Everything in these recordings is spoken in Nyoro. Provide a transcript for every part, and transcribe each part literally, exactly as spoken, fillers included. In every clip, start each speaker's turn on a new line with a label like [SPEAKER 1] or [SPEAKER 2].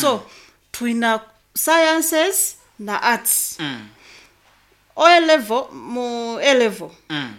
[SPEAKER 1] So twina sciences na arts.
[SPEAKER 2] Mm.
[SPEAKER 1] O level, mu A level
[SPEAKER 2] Mm.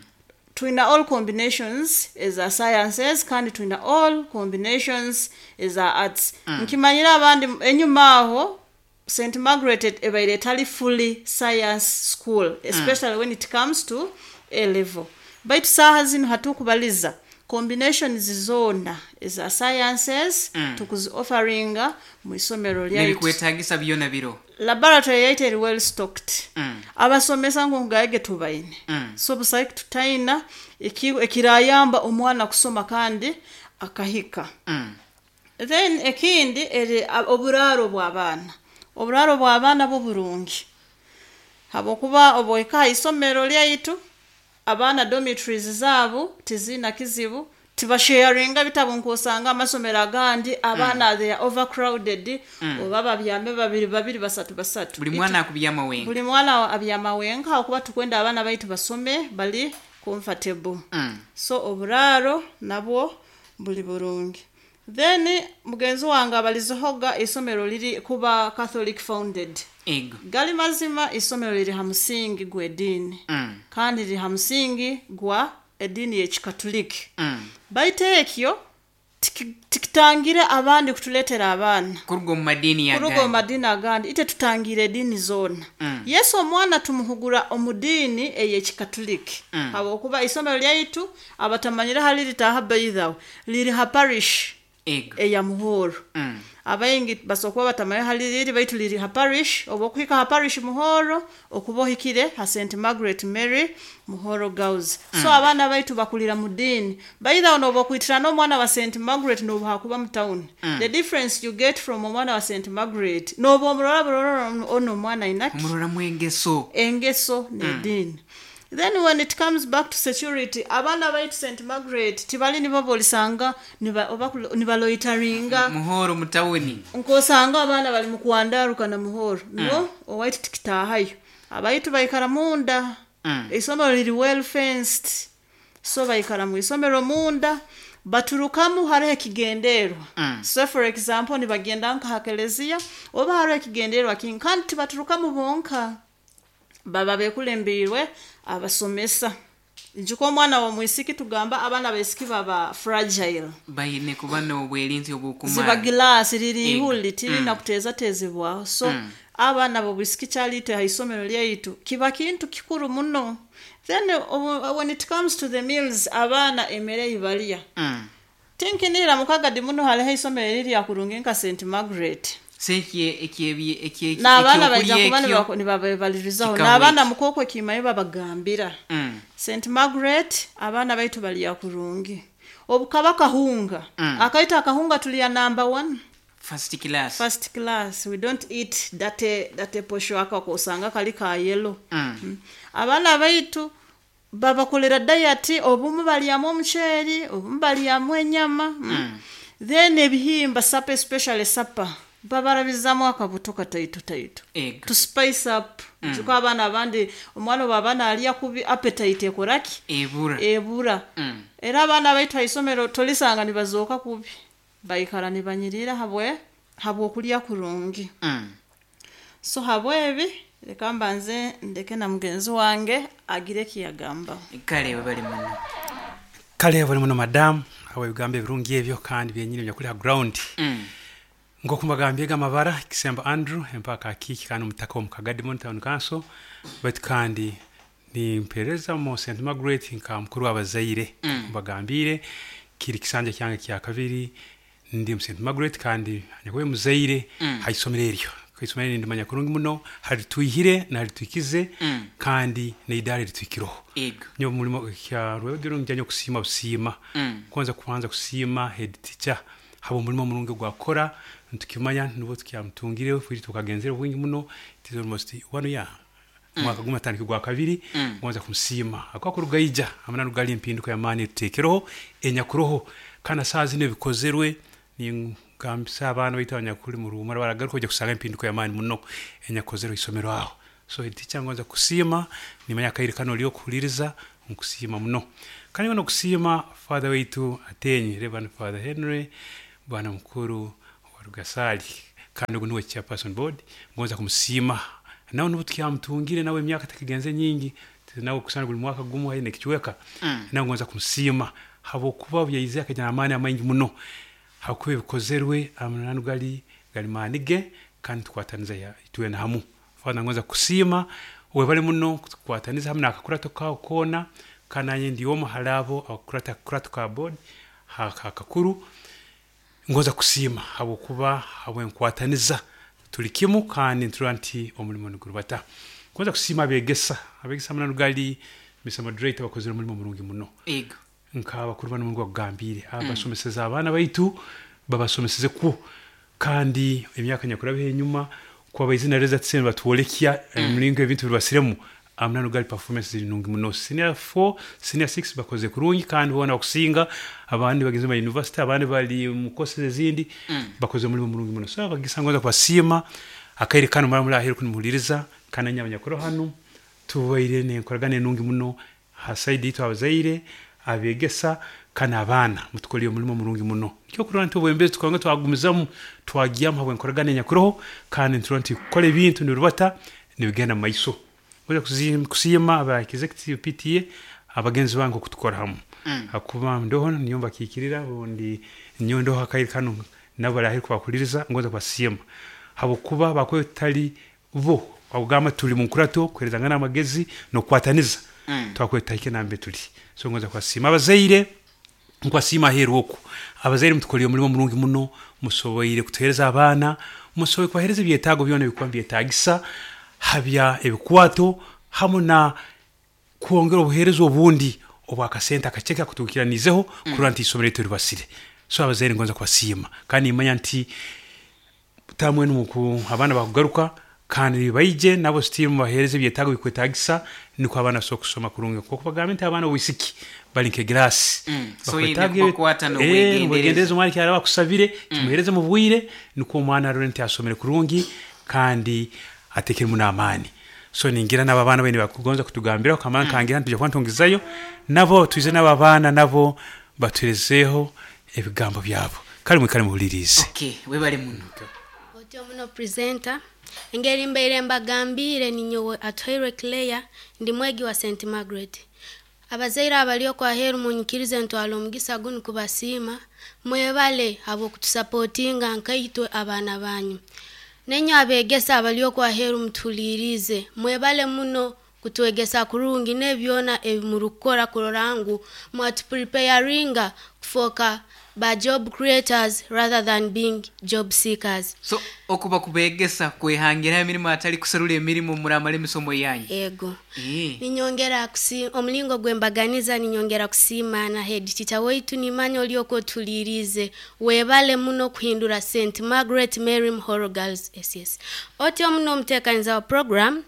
[SPEAKER 1] twina all combinations eza sciences kandi twina all combinations eza arts. Nkimanyire abandi enyuma aho Saint Margaret ebaire etali fully science school, especially when it comes to A level, baitu saaha zinu hatukubaliza combinations zona eza sciences
[SPEAKER 2] Mm.
[SPEAKER 1] tukuzi offeringa mu isomero lyaitu.
[SPEAKER 2] Nebikwetagisa byona biro.
[SPEAKER 1] Laboratory yaitu eri well stocked.
[SPEAKER 2] Mm.
[SPEAKER 1] Abasomesa ngongaege tubaine.
[SPEAKER 2] Mm.
[SPEAKER 1] So busaiki tutaina eki- ekirayamba omwana kusoma kandi akahika.
[SPEAKER 2] Mm.
[SPEAKER 1] Then ekindi eri a- oburaaro bw'abaana. Oburaaro bw'abaana bwo burungi, habwokuba obwohika ha isomero lyaitu, abaana dormitories zaabo tiziina kizibu, tibasharinga bitabo nkosanga amasomero agandi abaana they are overcrowded, oba babyame babiri babiri, basatu basatu.
[SPEAKER 2] Buli mwana akubyama wenka.
[SPEAKER 1] Buli mwana abyama wenka, habwokuba tukwenda abaana baitu basome bali comfortable.
[SPEAKER 2] Mm.
[SPEAKER 1] So oburaaro nabwo buli burungi. Then mugenzi wange abalizehoga isomero liri kuba Catholic founded.
[SPEAKER 2] Ego.
[SPEAKER 1] Gali mazima, isomero liri ha musingi gw'ediini
[SPEAKER 2] Mm.
[SPEAKER 1] kandi liri ha musingi gwa ediini y'Ekikatuliki.
[SPEAKER 2] Mm.
[SPEAKER 1] Baitu ekyo tiki- tikitangire abandi kutuleetera abaana
[SPEAKER 2] kuruga omu madiini.
[SPEAKER 1] Kuruga omu
[SPEAKER 2] agandi.
[SPEAKER 1] Madiini agandi. Ite tutangira ediini zoona.
[SPEAKER 2] Mm.
[SPEAKER 1] Yesu omwana tumuhugura omu diini ey'Ekikatuliki,
[SPEAKER 2] Mm.
[SPEAKER 1] habwokuba isomero lyaitu, abatamanyire hali litaaha, by the way, liri ha parish
[SPEAKER 2] ego
[SPEAKER 1] eya Muhoro.
[SPEAKER 2] Mm.
[SPEAKER 1] Abaingi basobola kuba batamanyire hali liri, baitu liri ha parish. Oba okuhika ha parish Muhoro, okuba ohikire ha Saint Margaret Mary Muhoro Girls. So abaana baitu bakulira mu diini. Baithawo noba okwitira n'omwana wa Saint Margaret nobuhakuba mu town, the difference you get from omwana wa Saint Margaret, noba omurora burora ono omwana ainaki.
[SPEAKER 2] Omuroramu engeso.
[SPEAKER 1] Engeso n'ediini. Then when it comes back to security, abaana baitu Saint Margaret tibali nibo bolisanga niba- oba kulo- nibaloitaringa
[SPEAKER 2] Muhoro mu tawuni.
[SPEAKER 1] Nkosanga abaana bali mukwandaruka na Muhoro. No, owaitu tikitahayo. Abaitu baikara munda.
[SPEAKER 2] Mm.
[SPEAKER 1] Isomero liri well fenced, so baikara mu isomero munda, baturukamu hariho ekigenderwa.
[SPEAKER 2] Mm.
[SPEAKER 1] So for example, nibagenda nka ha keleziya oba hariho ekigenderwa kingi, kandi tibaturukamu bonka, baba bekulembiirwe abasomesa. Njuka omwana w'omwisiki, tugamba abaana baisiki baba fragile.
[SPEAKER 2] Baine kuba n'obwerinzi obukumara.
[SPEAKER 1] Ziba gilasi liri
[SPEAKER 2] Ego.
[SPEAKER 1] ihuli tirina
[SPEAKER 2] Mm.
[SPEAKER 1] kuteezatezebwaho. So
[SPEAKER 2] Mm.
[SPEAKER 1] abaana b'obwisiki kyaliite ha isomero lyaitu kiba kintu kikuru muno. Then uh, when it comes to the meals, abaana emere ei balya,
[SPEAKER 2] Mm.
[SPEAKER 1] tinkinira mukagadi muno haliho isomero erirya kurungi nka Saint Margaret.
[SPEAKER 2] Se ekye- ekye- ekye-
[SPEAKER 1] N'abaana baija
[SPEAKER 2] ekyokulya
[SPEAKER 1] kuba
[SPEAKER 2] ekyo
[SPEAKER 1] nibako- nibabebalirizaho.
[SPEAKER 2] Kikamu
[SPEAKER 1] N'abaana
[SPEAKER 2] eki.
[SPEAKER 1] mukoko ekimayo babagambira.
[SPEAKER 2] Mm.
[SPEAKER 1] Saint Margaret abaana baitu balya kurungi. Obukaba kahunga,
[SPEAKER 2] Mm.
[SPEAKER 1] akaita akahunga tulya number one.
[SPEAKER 2] First class.
[SPEAKER 1] First class. We don't eat date date posho aka kosanga kali ka yellow.
[SPEAKER 2] Mm.
[SPEAKER 1] Mm. Abaana baitu babakolera diet, obumu balyamu omuceeri, obumu balyamu enyama. mm.
[SPEAKER 2] Mm.
[SPEAKER 1] Then ebihimba, supper, especially supper, babarabizamu akabuto kataito taito
[SPEAKER 2] Ego.
[SPEAKER 1] to spice up. Mm. Njuka abaana abandi, omwana obu alya kubi, appetite ekoraki?
[SPEAKER 2] Ebura.
[SPEAKER 1] Ebura.
[SPEAKER 2] Mm.
[SPEAKER 1] Era abaana baitu ha isomero tolisanga nibazooka kubi, baikara nibanyirira habwe habwokulya kurungi.
[SPEAKER 2] Mm.
[SPEAKER 1] So habwebi reka mbanze ndeke na mugenzi wange agire ekiyagamba.
[SPEAKER 2] Kale bali muno.
[SPEAKER 3] Kale bali muno, madamu, awo ebigambo ebirungi ebyo kandi byenyini byakuli ha ground.
[SPEAKER 2] Mm.
[SPEAKER 3] Nk'oku mbagambye amabara, Kisemba Andrew, empaka akiiki kandi omutaka omu Kagadimon Town Council, baitu kandi nimpereza mu Saint Margaret nka mukuru w'abazaire.
[SPEAKER 2] Mm.
[SPEAKER 3] Mbagambire kiri kisanja kyange kya kabiri ndi mu Saint Margaret, kandi nyakuba muzaire
[SPEAKER 2] Mm.
[SPEAKER 3] ha isomero eryo. Ku isomero eri ndimanya kurungi muno hari twihire nari twikize
[SPEAKER 2] Mm.
[SPEAKER 3] kandi neidara ritwikiroho.
[SPEAKER 2] Ego.
[SPEAKER 3] Nyo mulimo kya rwebagiro njya kusiima busiima.
[SPEAKER 2] Mm.
[SPEAKER 3] Kwanza kubanza kusiima head teacher haba omulimo omurungi gwakora. Ntukimanya nubwo tukyamutungire fwiri tukagenzere bwingi muno. It is almost one year, mwaka gumwe atandika gwa kabiri.
[SPEAKER 2] Mm.
[SPEAKER 3] Ngonza kumusiima akwakurugaija amana rugali empinduka y'amaani tuteekereho enyakuroho kandi saa zino ebikozerwe. Ningambisa abaana baitu abanyakuli mu ruhumura baragaruka kujya kusanga empinduka y'amaani muno enyakozerwe isomero aho. So head teacher, ngonza kusiima, nimanya akaire kano oli okuhuliriza, nkusiima muno. Kandi ngono kusiima father waitu atenyi, Reverend Father Henry, bwana mukuru wa Rugasali. Kandi ogu niwe chairperson board, ngonza kumusiima nawe nubu tukyamutungire nawe emyaka tekigenze nyingi, nawe kusana buli mwaka gumu haine ekicweka.
[SPEAKER 2] Mm.
[SPEAKER 3] Nawe ngonza kumusiima habwokuba byaize akagira amaani amaingi muno, hakuba ebikozerwe amananu gali gali maani ge, kandi tukwataniza ya- twena hamu. Father, ngonza kusiima webale muno kutukwataniza hamu n'akakurato kawe koona, kandi nanye ndi omu hali abo abakurata akakurato ka board akakuru. Ngonza kusiima habwokuba habwenkwataniza tuli kimu, kandi nturora nti omulimo nigurubata. Ngonza kusiima abegesa, abegesa amananu gali Mister Moderator bakozere omulimo murungi muno.
[SPEAKER 2] Ego.
[SPEAKER 3] Nk'abakuru bano mungu bakugambire, abasomeseza abaana baitu babasomeseze kwo, kandi emyaka nyakurabeho enyuma kuba baizina reza tsene batwolekya emiringo ebintu biribasiremu, amananu gali performance ziri nungi muno. Senior four, senior six bakoze kurungi, kandi bona bakusinga abandi bagenze mu university, abandi bali mu courses ezindi, bakoze omulimo murungi muno. So abagisa ngonza kubasiima akaire kano mara muri aheru kunimuhuliriza, kandi nyabanyakuru hano tubaire nenkoragana enungi muno ha side yitu abazaire, abegesa kandi abaana mutukoliye omulimo murungi muno. Nikyo kurora nti obwembezi tukanga twagumizamu twagyamu habwenkoragana enyakuroho, kandi nturora nti kukora ebintu nirubata nibigenda mu maiso. Ngoja kusiima aba executive P T A abagenzi bange okutukora hamu.
[SPEAKER 2] Mm.
[SPEAKER 3] Hakuba ndoho niyo mbakikirira bundi niyo ndoho akaire kano nabo baraheri kubakuliriza, ngoza kubasiima habwokuba bakwe tali bo abugamba tuli mu nkurato kuherezangana amagezi n'okukwataniza.
[SPEAKER 2] Mm.
[SPEAKER 3] Twakweta hike nambe tuli. So ngoza kubasiima abazaire, nkwasiima aheeru oku. Abazaire mutukoliye omulimo murungi muno, musoboire kutuhereza abaana, musoboire kubahereza ebyetaago byona ebikuba nibyetaagisa, habya ebikwato hamu na kwongera obuheereza obundi obwakasente akaceke akutuukiranizeho kurora nti isomero lyaitu ribasire. So abazaire ngonza kubasiima, kandi nimanya nti tamwe nuku abaana bakugaruka kandi baije nabo still mubahereze ebyetaago bikwetaagisa, niko abaana basobola kusoma kurungi. Kuko bagambe nti abaana b'obwisiki bali nk'egirasi.
[SPEAKER 2] Mm. So
[SPEAKER 3] Bakwetaaga
[SPEAKER 2] yine kubakwata
[SPEAKER 3] eh,
[SPEAKER 2] n'obwegendereza.
[SPEAKER 3] n'obwegendereza, omwana kyaraba akusabire, kimuhereze mu bwire, niko omwana arore nti asomere kurungi kandi atekeremu n'amaani. So ningira n'abo abaana baine bakugonza kutugambiraho, kamara
[SPEAKER 2] Mm.
[SPEAKER 3] nkangira nti tujja kuba ntungizayo, nabo twize n'abo abaana nabo batuherezeeho ebigambo byabo. Kale mwikale muhulirize.
[SPEAKER 2] Okay, webale muno.
[SPEAKER 4] Otyo muno presenter. Engeri mbaire mbagambire ninyowe Atuhairwe Claire, ndi mwegi wa Saint Margaret. Abazaire abali okwaheru munyikirize ntwala omugisa gunu kubasiima, mwebale habw'okutusapotinga nkaitwe abaana banyu. Nenyo abegesa abali okwaheru mutulirize, mwebale muno kutwegesa kurungi n'ebyona ebimurukukora kurora ngu mwatupreparinga kufoka ba job creators rather than being job seekers.
[SPEAKER 2] So okuba kubegesa kwehangira emirimu atali kuserula emirimu muramala emisomo yanyu.
[SPEAKER 4] Ego.
[SPEAKER 2] Eh.
[SPEAKER 4] Ninyongera kusi omulingo gwembaganiza ninyongera kusiima na head teacher waitu nimanya olyoko tulirize webale muno kuhindura Saint Margaret Mary Muhoro Girls S S. Otyo muno omuteekaniza wa program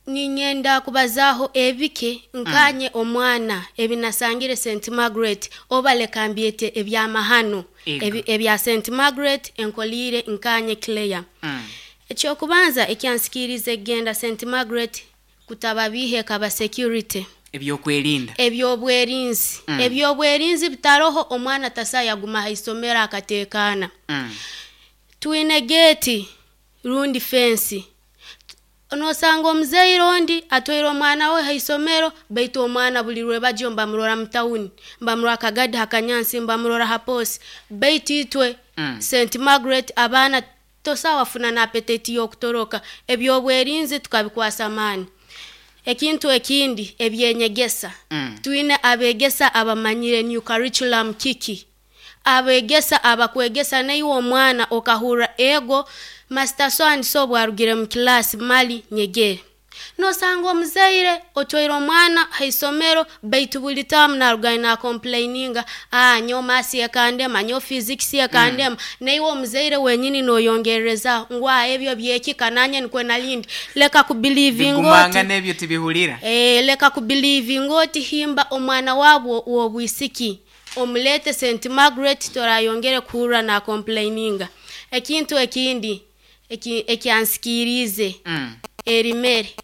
[SPEAKER 4] ninyenda kubazaho ebike nkanye mm. omwana ebinasangire Saint Margaret obaleka mbyete ebyamahano ebi, ebya Saint Margaret enkolire nkanye Claire.
[SPEAKER 2] Mm.
[SPEAKER 4] Ekyokubanza ekyansikirize genda Saint Margaret kutababihe kaba security
[SPEAKER 2] ebyokwerinda
[SPEAKER 4] ebyobwerinzi
[SPEAKER 2] mm.
[SPEAKER 4] ebyobwerinzi bitaroho omwana tasaya guma haisomera akatekana.
[SPEAKER 2] Mm.
[SPEAKER 4] Twine gate rundi fence nosanga omuzeire ondi atwaire omwana we haisomero baitu omwana buli lwe bajyo mbamurora mu tawuni mbamurora akagadi hakanyansi mbamurora haposi baitu itwe
[SPEAKER 2] mm.
[SPEAKER 4] Saint Margaret abaana tosawafuna na appetite y'okutoroka ebyobwerinzi tukabikwasa amaani. Ekintu ekindi ebyenyegesa
[SPEAKER 2] mm.
[SPEAKER 4] twine abegesa abamanyire new curriculum kiki abegesa abakwegesa naiwe omwana okahura ego master so and so bwarugire mu class mali nyegere nosanga omuzaire otwaire omwana haisomero baitu buli tamu narugaine na complaininga ah nyo masi ekandema nyo physics ekandema
[SPEAKER 2] mm.
[SPEAKER 4] naiwe omuzaire wenyini noyongereza ngwa ebyo byekika nanye nikwe nalindi leka kubelieve
[SPEAKER 2] ngoti nebyo tibihulira
[SPEAKER 4] eh leka kubelieve ngoti himba omwana wabwo wobwisiki omulete Saint Margaret torayongere kuhura na complaininga. Ekintu ekindi ekyansikirize
[SPEAKER 2] mm.
[SPEAKER 4] erimere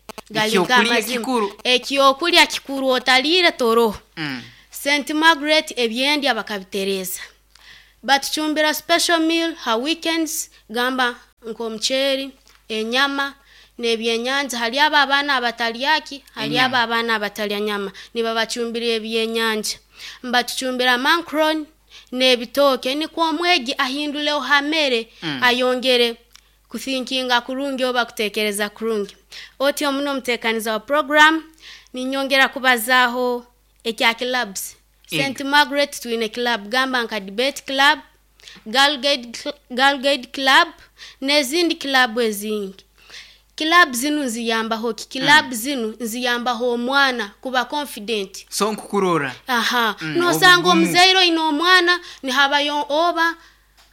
[SPEAKER 4] ekyokulya kikuru otalire toro
[SPEAKER 2] mm.
[SPEAKER 4] Saint Margaret ebyendya bakabitereza Batucumbira special meal ha weekends, gamba nk'omuceeri, enyama n'ebyenyanja. Hali abo abaana abatalyaki, hali abo abaana abatalya nyama, nibabacumbira ebyenyanja. Mbatucumbira macaroni n'ebitooke, nikwo omwegi ahinduleho ha mere,
[SPEAKER 2] Mm.
[SPEAKER 4] ayongere kuthinkinga kurungi oba kutekereza kurungi. Otyo muno omuteekaniza wa program, ninyongera kubazaaho ekya clubs.
[SPEAKER 2] Ego.
[SPEAKER 4] Saint Margaret twine club, gamba nka debate club, girl guide, girl guide club n'ezindi club ezingi. Club zinu nziyambaho ki? Club
[SPEAKER 2] Mm.
[SPEAKER 4] zinu nziyambaho omwana kuba confident.
[SPEAKER 2] So nkukurora.
[SPEAKER 4] Aha.
[SPEAKER 2] Mm,
[SPEAKER 4] nosanga
[SPEAKER 2] obugumu.
[SPEAKER 4] omuzaire oine omwana nihabayo oba,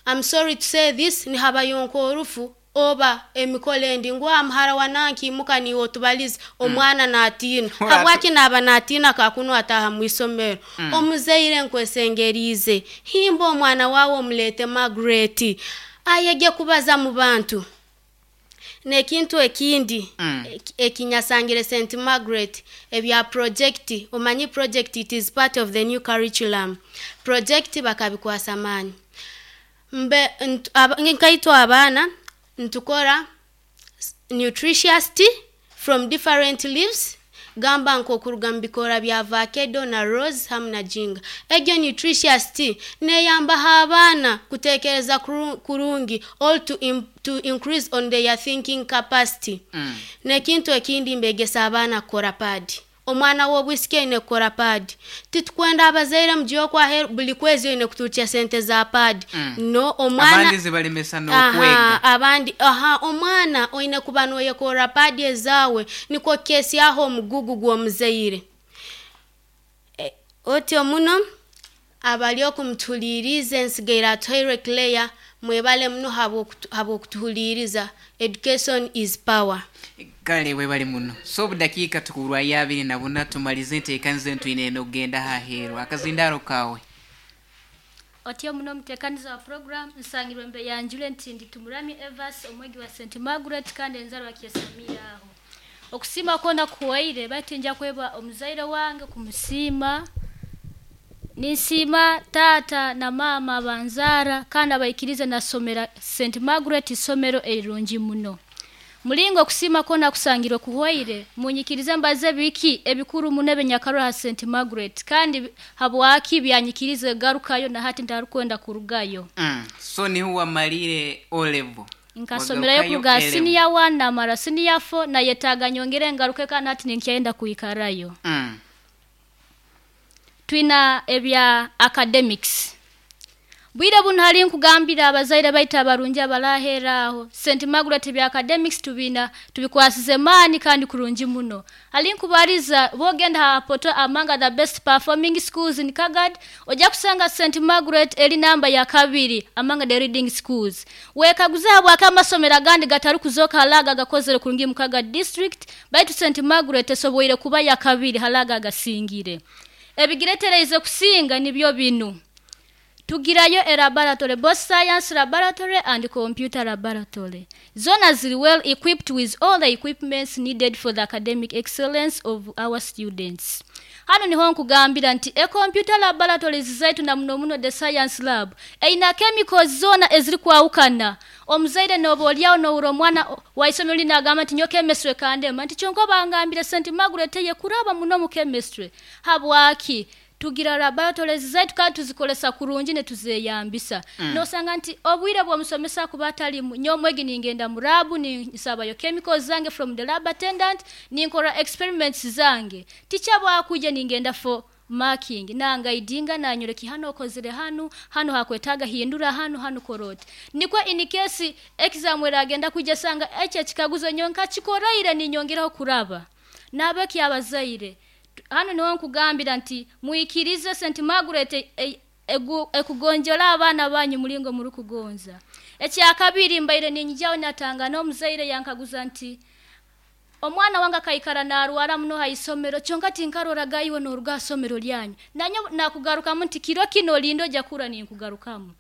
[SPEAKER 4] I'm sorry to say this, nihabayo nk'orufu oba emikolo endi, ngu amuhara wa nanki imuka niiwe otubalize, omwana naatiina.
[SPEAKER 2] Ora-
[SPEAKER 4] Habwaki naaba naatiina? Kakunu ataaha mu isomero.
[SPEAKER 2] Mm.
[SPEAKER 4] Omuzaire, nkwesengeriize, himba omwana waawe omuleete Margaret, ayege kubaza mu bantu. N'ekintu ekindi
[SPEAKER 2] Mm.
[SPEAKER 4] eki- ekinyasangire Saint Margaret, ebya project. Omanyi project, it is part of the new curriculum. Project bakabikwasa maani mbe nt- aba- nkaitwe abaana ntukora s- nutritious tea from different leaves, gamba nk'okuruga mu bikoora bya avocado na rose hamu na ginger. Egyo nutritious tea neyambaho abaana kutekereza kuru- kurungi, all to, im, to increase on their thinking capacity.
[SPEAKER 2] Mm.
[SPEAKER 4] N'ekintu ekindi, mbegesa abaana kukora pad. Omwana w'obwisiki aine kukora pad. Titukwenda abazaire mugiye okwaheru buli kwezi oine kuturukya sente za pad.
[SPEAKER 2] Mm.
[SPEAKER 4] No, omwana
[SPEAKER 2] abandi zibalemesa n'okwega.
[SPEAKER 4] Aha, abandi aha, omwana oine kuba noyekora pad ezaawe, nikwo kesyaho omugugu gw'omuzaire. E, otyo muno abali okumutuhuliiriza, ensigaire Atuhaire Claire, mwebale muno habw'okutu- habw'okutuhuliiriza. Education is power.
[SPEAKER 2] Kale webale muno. So obudakiika tukurwayo abiri na buna tumalize enteekaniza entwine eno okugenda haheeru. Akazindaro kawe.
[SPEAKER 5] Otyo muno omuteekaniza wa program, nsangirwe mbe yanjule nti ndi Tumurami Evas, omwegi wa Saint Margaret kandi enzarwa kyesamira aho. Okusiima kwona kuwaire, baitu nja kweba omuzaire wange kumusiima. Ninsiima taata na maama abanzaara kandi abaikirize nasomera Saint Margaret, isomero erirungi muno. Mulingo okusiima kwona kusangirwe kuhwaire, munyikirize mbaze biki ebikuru muno ebinyakarwa ha Saint Margaret kandi habwaki byanyikirize garukayo na hati ntarukwenda kurugayo.
[SPEAKER 2] Mm. So niho wamalire O level?
[SPEAKER 5] Nkasomerayo
[SPEAKER 2] Wagarukayo
[SPEAKER 5] kuruga
[SPEAKER 2] A level.
[SPEAKER 5] senior one namara senior four, nayetaaga nyongere ngaruke kandi hati ninkyenda kwikarayo.
[SPEAKER 2] Mm.
[SPEAKER 5] Twina ebya academics. Bwire buno hali nkugambira abazaire baitu abarungi abarahera aho, Saint Margaret bya academics tubina tubikwasize maani kandi kurungi muno. Hali nkubariza bogenda ha poto among the best performing schools in Kagadi, ojja kusanga Saint Margaret eri namba ya kabiri among the leading schools. Wekaguze habwaki amasomero agandi gatari kuzoka halaga gakozere kurungi mu Kagadi district, baitu Saint Margaret esoboire kuba ya kabiri halaga agasingire. Ebigiretereize kusinga nibyo binu: tugirayo a laboratory, both science laboratory and computer laboratory. Zona ziri well equipped with all the equipments needed for the academic excellence of our students. Hano niho nkugambira nti e computer laboratories zaitu na muno muno the science lab eina chemicals zona eziri kwawukana. Omuzaire noba olyawo nowura omwana waisomero linagamba nti nyo chemistry kandema, nti kyonka bangambire Saint Margaret ye kuraba muno mu chemistry. Habwaki? Tugira laboratories zaitu kandi tuzikolesa kurungi ne tuzeyambisa. mm. Nosanga nti obwire bw'omusomesa kuba atalimu, nyomwegi ningenda mu lab, ninsabayo chemicals zange from the lab attendant, ninkora experiments zange. Teacher bwakuja ningenda for marking, nangaidinga, nanyoleki hano okozere, hano hano hakwetaga hindura, hano hano korote, nikwo in case exam eragenda kujja sanga ekyo ekikaguzo nyonka kikoraire ninyongeraho kuraba. Nabeki abazaire, hano niho nkugambira nti muikirize Saint Margaret e- e- egu- ekugonjola abaana banyu mulingo muri kugonza. Ekyakabiri, mbaire ninyijaho natanga n'omuzaire yankaguza nti omwana wange akaikara narwara muno ha isomero, kyonka tinkaroraga iwe noruga somero lyanyu. Nanyo nakugarukamu nti kiro kino lindo ojja kura ninkugarukamu.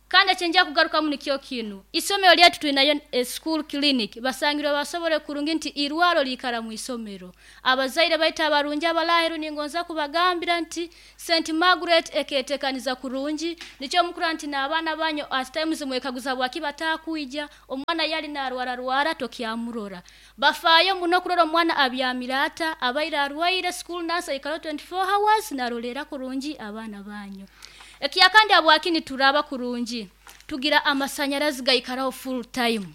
[SPEAKER 5] Kandi ekyenja kugarukamu nikyo kinu, isomero lyaitu tulinayo e school clinic, basangirwe basobole kurungi nti irwaro liikara mu isomero. Abazaire baitu abarungi abalaheru ningonza kubagambira nti Saint Margaret eketekaniza kurungi, nikyo mukura nti n'abaana banyu at times mwekaguza bwaki batakwija, omwana yali narwara rwara tokyamurora. Bafaayo muno kurora omwana abyamira ata, abaire arwaire, school nurse aikara twenty-four hours narolera kurungi abaana banyu. Ekyakandi abwakini turaba kurungi, tugira amasanyarazi gaikaraho full time.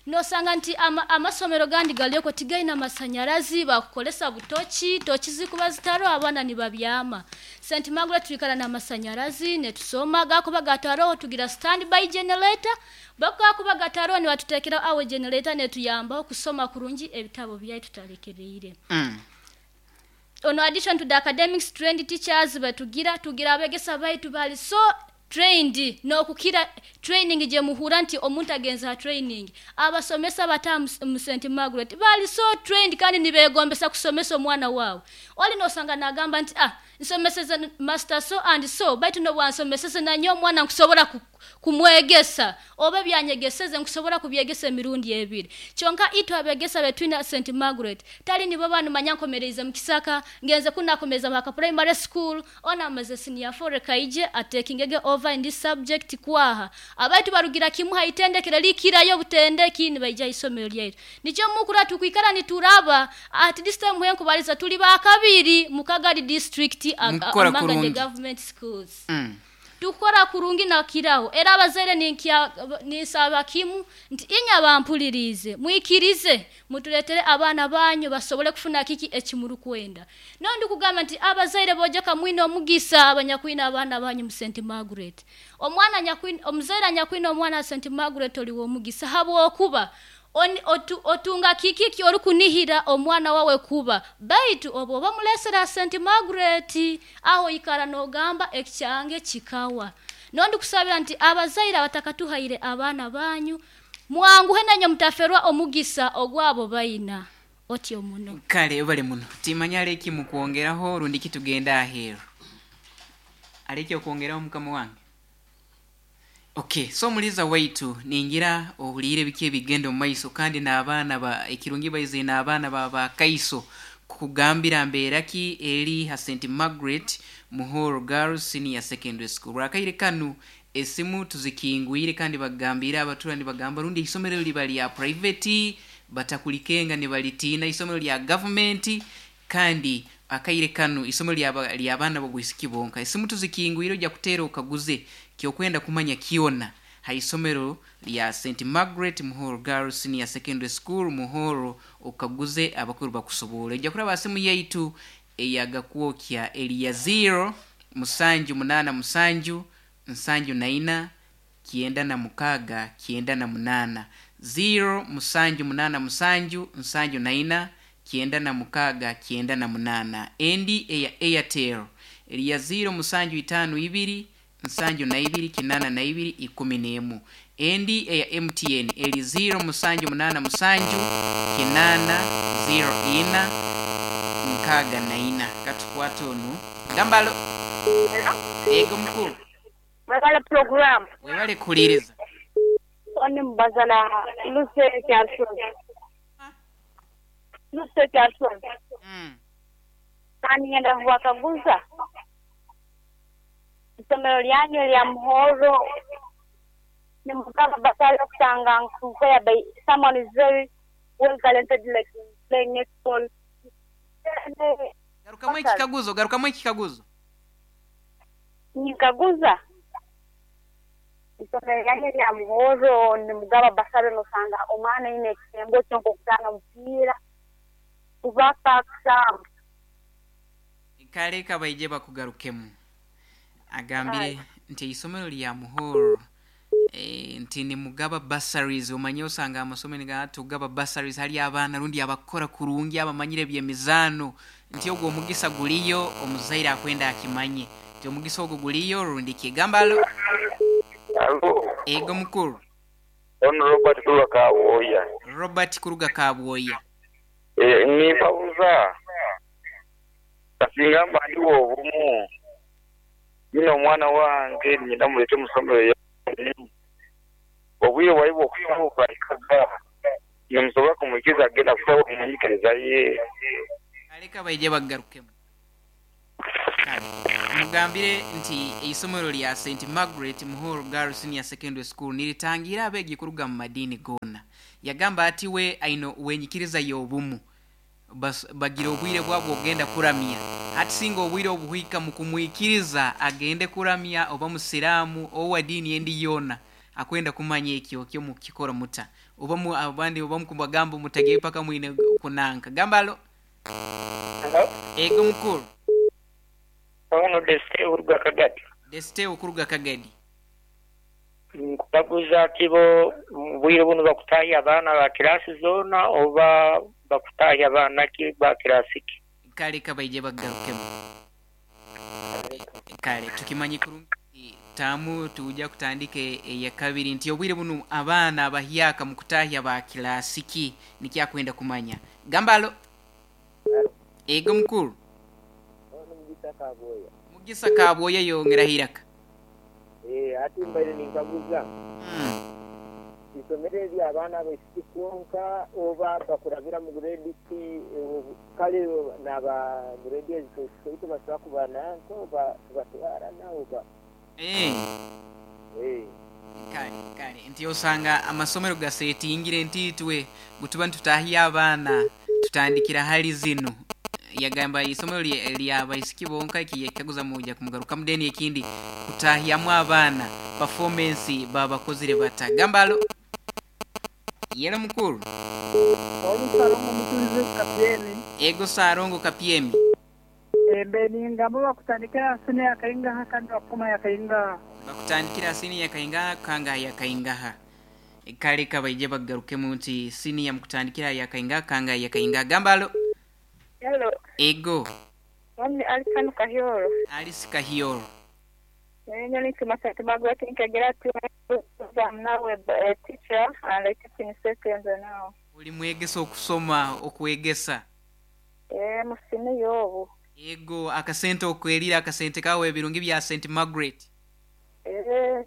[SPEAKER 5] Nosanga nti ama, amasomero gandi galiyoko tigaina amasanyarazi, bakukolesa butochi, tochi zikuba zitaro abaana nibabyama. Saint Margaret tuikara na masanyarazi netusoma, gakuba gataro tugira standby generator, bakakuba gataro ni watutekera awe generator netuyamba kusoma kurungi ebitabo byaitu talekereire.
[SPEAKER 2] Mm.
[SPEAKER 5] On addition to the academics trained teachers batugira, tugira abegesa baitu bali so trained no kukira training je muhura nti omuntu agenza training. Abasomesa bata mu Saint Margaret bali so trained kandi nibegombesa kusomesa omwana wawe. Oli nosanga nagamba nti ah nsomeseze master so and so baitu no bwansomeseze nanyo omwana nkusobola kumwegesa oba byanyegeseze nkusobola kubyegesa emirundi ebiri. Kyonka itu abegesa betwina Saint Margaret tali nibo banu manyankomereze mu kisaka ngenze kunakomeza maka primary school ona amaze senior four kaije atekingege over in this subject kwaha abaitu barugira kimu haitendekere likirayo butendeki nibaija isomero lyaitu. Nikyo mukura tukwikara nituraba at this time henkubaliza tuli bakabiri mukagari district among the government schools.
[SPEAKER 2] Mm.
[SPEAKER 5] Tukora kurungi na kiraho era abazere ninkia nisaba kimu nti inya bampulirize mwikirize mutuletere abaana banyu basobole kufuna kiki ekimuru kwenda. Nondi kugamba nti abazaire bojoka mwino omugisa abanyakwina abaana banyu mu Saint Margaret. Omwana nyakwina omuzaire anyakwina omwana Saint Margaret oli womugisa habwokuba Oni, otu, otunga kiki ki orukunihira omwana wawe kuba baitu obo bamulesera Saint Margaret aho ikara nogamba ekyange kikawa. Nondi kusabira nti abazaire abatakatuhaire abaana banyu mwanguhe nanyo mutaferwa omugisa ogwabo baina otyo muno.
[SPEAKER 2] Kale bale muno timanya leki mukwongeraho rundi kitugenda ahero aleki okwongeraho mukama wange. Okay, so muliza waitu ningira ohulire biki ebigendo maiso kandi n'abaana ba ekirungi baize n'abaana ba ba kaiso kugambira mberaki eri ha Saint Margaret Muhoro Girls Senior Secondary School. Rakaire kanu esimu tuzikingwire kandi bagambira abaturani bagamba rundi isomero liba lya private batakulikenga ni balitina isomero lya government kandi akaire kanu isomero lya lya abaana bobwisiki bonka. Esimu tuzikingwire ojja kutera okaguze kyokwenda kumanya kiona haisomero lya Saint Margaret Muhoro Girls Senior Secondary School Muhoro okaguze abakuru bakusobola. Ojja kuraba simu yaitu eyagakwokya eliya zero musanju munana musanju nsanju naina kienda na mukaga kienda na munana zero musanju munana musanju nsanju naina kienda na mukaga kienda na munana. Endi eya Airtel eliya zero musanju itano ibiri nsanju na ibiri kinana na ibiri ikumi n'emu. Endi eya M T N eli zero musanju munana musanju kinana zero ina nkaga na ina. Katukwate onu gambalo ego mukuru
[SPEAKER 6] webale program
[SPEAKER 2] webale kuliriza
[SPEAKER 6] oni mbazana luse kyasho luse kyasho
[SPEAKER 2] mm
[SPEAKER 6] kani ngenda kuwakaguza isomero lyange lya Muhoro ni mukama basale kusanga nkuya by someone is very well talented like playing netball.
[SPEAKER 2] Garuka mwe kikaguzo garuka mwe kikaguzo
[SPEAKER 6] nikaguza isomero lyange lya Muhoro ni mugaba basale nosanga omwana ine kisembo cyo kutanga mpira kubaka kusamba
[SPEAKER 2] kale kabaije bakugarukemu agambire nti isomero lya Muhoro e, nti ni mugaba bursaries omanye osanga amasomero ga tugaba bursaries hali abaana rundi abakora kurungi abamanyire byemizano nti ogwo omugisa guliyo omuzaire akwenda akimanye nti omugisa ogwo guliyo rundi kigambalo.
[SPEAKER 7] Alo
[SPEAKER 2] ego mukuru
[SPEAKER 7] on Robert Kuruga Kabwoya.
[SPEAKER 2] Robert Kuruga Kabwoya
[SPEAKER 7] eh ni pauza kasingamba ndiwo obumu bino omwana wange nyina mulete musomero Obwire bwaibwe okusaba bwahikaga nimusobola kumwikiriza agenda kusaba omunyikiriza ye.
[SPEAKER 2] Aleka baije bagarukemu. Kale mugambire nti eisomero lya Saint Margaret Muhoro Girls Senior Secondary School niritangira abeegi kuruga mu madiini goona. Yagamba ati we aino wenyikiriza y'obumu Bas- bagira obwire bwabwo ogenda kuramya hati singa obwire obuhika mu kumwikiriza agende kuramya oba musiraamu owa diini endi yoona akwenda kumanya ekyo kyo mukikora muta oba mu abandi oba mukubagamba mutage paka mwine kunanka gambalo.
[SPEAKER 8] Hello?
[SPEAKER 2] Ego mukuru.
[SPEAKER 8] Ono Desite oruga Kagadi.
[SPEAKER 2] Desite okuruga Kagadi.
[SPEAKER 8] Nkukaguza kibo bwire buno bakutahya abaana ba kirasi zoona oba bakutahya abaana ki ba kirasi ki?
[SPEAKER 2] Kale kabaije bagarukemu. Kale tukimanyi kurungi tamu tuja kutandika eya kabiri nti obwire buno abaana abahyaka mu kutahya ba kirasi ki nikyakwenda kumanya. Gambalo. Ego mukuru.
[SPEAKER 9] Ono Mugisa Kabwoya.
[SPEAKER 2] Mugisa Kabwoya yongera hiraka.
[SPEAKER 9] Eh, ati mbaire ninkaguza.
[SPEAKER 2] Mm.
[SPEAKER 9] Isomero eri abaana abaisiki kwonka oba bakurabira mu grade ki kale n'aba grade ezitoito basobola kuba nanko oba tubatwara nawo ba.
[SPEAKER 2] Eh.
[SPEAKER 9] Eh.
[SPEAKER 2] Kale kale nti osanga amasomero gasetingire ntitwe gutuba ntutahya abaana tutandikira hali zino. Yagamba isomero lya abaisiki bonka ekiyekaguza muja kumugaruka mudeni ekindi kutahyamu abaana performance babakozire bata. Gambalo. Yela mukuru.
[SPEAKER 10] Oli Sarongo mutulize Kapyemi.
[SPEAKER 2] Ego Sarongo Kapyemi.
[SPEAKER 10] Embe ningamba bakutandikira sini yakaingaha kandi bakuma yakaingaha.
[SPEAKER 2] Bakutandikira sini yakaingaha kanga yakaingaha. Kale kabaije bagarukemu nti sini ya mukutandikira yakaingaha kanga yakaingaha. Gambalo.
[SPEAKER 6] Hello.
[SPEAKER 2] Ego.
[SPEAKER 6] Wami Alikanu Kahioro.
[SPEAKER 2] Alice Kahioro.
[SPEAKER 6] Nyenye ni Saint Margaret nkegera tu I'm now a, a teacher and I teach in secondary now.
[SPEAKER 2] Uli mwegesa okusoma okwegesa.
[SPEAKER 6] Eh musini yobu.
[SPEAKER 2] Ego akasente okwelira akasente kawe ebirungi bya Saint Margaret.
[SPEAKER 6] Eh.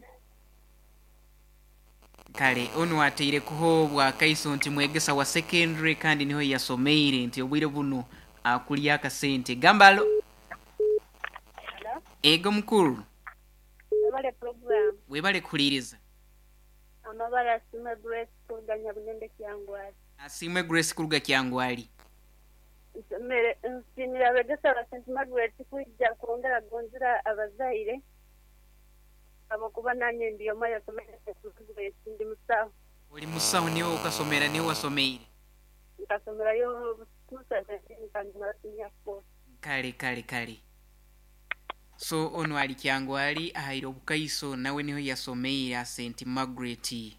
[SPEAKER 2] Kale ono ateire kuho bwa kaiso nti mwegesa wa secondary kandi niho yasomeire nti obwire buno akulya akasente. Gambalo.
[SPEAKER 6] Hello?
[SPEAKER 2] Ego mukuru.
[SPEAKER 6] Webale program.
[SPEAKER 2] Webale kuliriza.
[SPEAKER 6] Amabala Asimwe Grace kuruga Nyabunende Kyangwali.
[SPEAKER 2] Asimwe Grace kuruga Kyangwali.
[SPEAKER 6] Nsomere nsimira abegesa ba Saint Margaret kwijja kwongera gonzira abazaire. Abakuba nanye ndiyo maya somere Saint ndi musaho.
[SPEAKER 2] Oli musaho niwe ukasomera niwe wasomeire.
[SPEAKER 6] Nkasomerayo two thousand kandi mara four.
[SPEAKER 2] Kale kale kale. So ono ali Kyangwali ahaire obukaiso nawe niho yasomeire Saint Margaret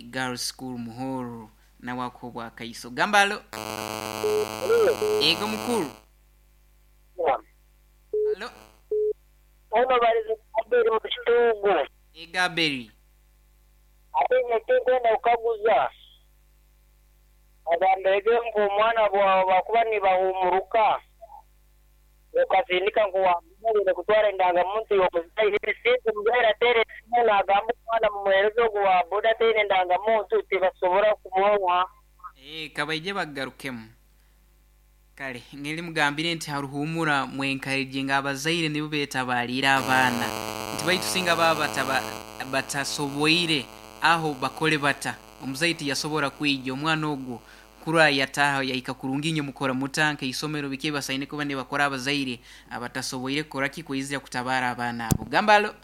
[SPEAKER 2] Girls School Muhoro nawe ako bwakaiso. Gambalo. Ego mukuru. Hello.
[SPEAKER 8] Ono balize Aberi mu kitungu.
[SPEAKER 2] Ego Aberi.
[SPEAKER 8] Ate nyetekwenda kukaguza. Agambege ngu omwana bwawe bakuba nibahumuruka. Ukasindika ngu wamubire kutwara indangamuntu y'omuzaire sinzi omuzaire ateera esimu nagamba omwana mumuheereze ogu wa boda ateine endangamuntu tibasobora kumuha.
[SPEAKER 2] Eh kabaije bagarukemu. Kale ngeli mugambire nti haruhumura mwenkareje abazaire nibo betabalira abaana. Nti baitusinga baba batasoboire aho bakole bata. Omuzaiti yasobora kwijja omwana ogwo kura yataha yahika kurungi nyo mukora mutanke isomero bike basaine kuba ne bakora abazaire abatasoboire kora ki kwizira kutabara abaana abo. Gambalo.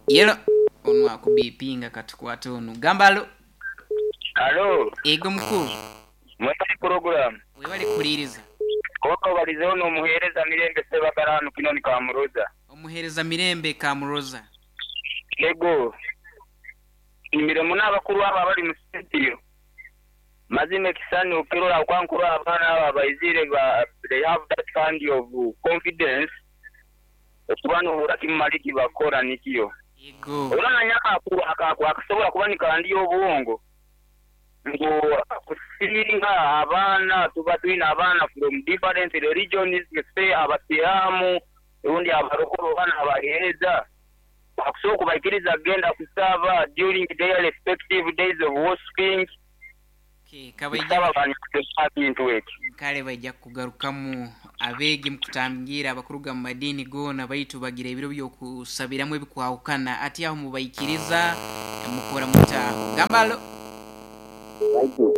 [SPEAKER 2] Yelo onu akubipinga katukwate onu. Gambalo.
[SPEAKER 7] Hello.
[SPEAKER 2] Ego mukuru.
[SPEAKER 7] Mwebale program.
[SPEAKER 2] Webale kuliriza.
[SPEAKER 7] Koko balize ono omuhereza Mirembe Sebagarano kinoni Kamuroza.
[SPEAKER 2] Omuhereza Mirembe Kamuroza.
[SPEAKER 7] Ego. Imirimo n'abakuru aba bali mu studio. Mazime kisani ukirora okwankura abaana aba baizire ba they have that kind of confidence. Okubano urakimaliki bakora nikiyo.
[SPEAKER 2] Ego.
[SPEAKER 7] Urana nyaka akakwa akasobola kuba nikandi obwongo. Ngo kusinga abaana tuba twina abaana from different religions, say abasilamu, undi abarokoro bana abahereza. Bakusobola okubaikiriza kugenda kusaba during their respective days of worshiping.
[SPEAKER 2] Okay, kabaija
[SPEAKER 7] Kusaba banikuteesa bintu ekyo.
[SPEAKER 2] Kale baija kugarukamu abeegi mukutangira abakuruga mu madiini goona baitu bagira ebiro by'okusabiramu ebikwahukana ati aho mubaikiriza mukora mutaaho gambalo.
[SPEAKER 9] Baitu